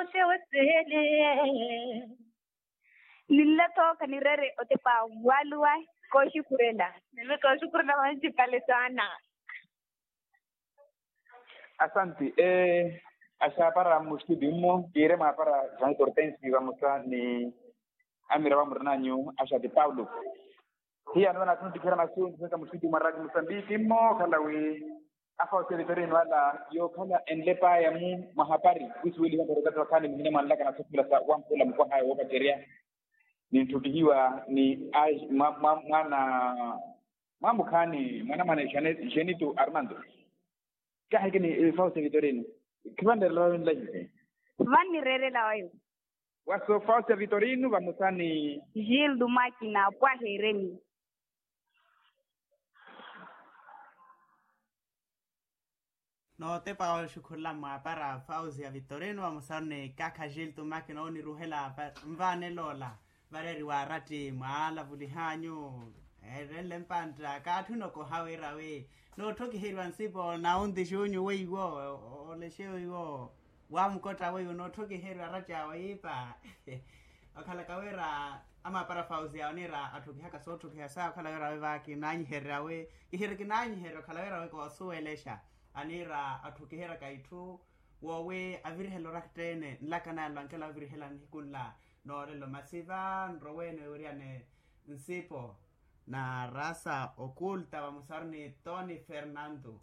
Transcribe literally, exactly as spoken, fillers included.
Ote wesele. Ninle tooka nireere otepa waluwa. Kooxukhurela. Nime kooxukhurela vanci pale saana. Asanti. Axaapara mustudi mmo kiire mwaapara jean hortensi vamosa ni amira vamurinanyu axati paulo. Hiya anoona athu ntikhira masu ntikhiraka mustudi mwa rati musambiki mmo okhala wi afausi ya vitorino ala yookhala enlepaya-mu mwa hapari kusuweliha murokati wakhaani muhina mwanlaka na sukula sa wampula mukwaha ayo woopacerya. Nintthukihiwa ni mwana mwaamukhaani mwanamwane jenito armando. Kaahikini fausi ya vitorino. Khivannireerela wawe nlahihi. Vannireerela wawe. Waso fausi ya vitorino vamosa ni jildu makina pwaha ereni. Nootepa oxukhurela mwaapara fausi ya vitorino vamosa ni kaakha jildu makina oniruhela nvaanela ola. Vareeriwa aratti mwaalavulihanyu. Erenle mpantta kaatthi onokoha wira wi nootthokiheriwa nsipo na onti xunyu weiwo. Olexe weiwo wamukotta weiwo nootthokiheriwa aratti awo yiipa. Okhalaka wira amaapara fausi awo niira atthokihaka sootthokiha saya okhala wira wi va kinaanyiherya wi kihiiri kinaanyiherya okhala wira wi koosuwelexa. Aniira atthokiheriwaka itthu woowi avirihela oraktteene nlaka naya nlwankela ovirihela nihiku nla. Noolelo masi va nroweene wiiriyane nsipo na rasa okulta vamosaru ni toni fernando.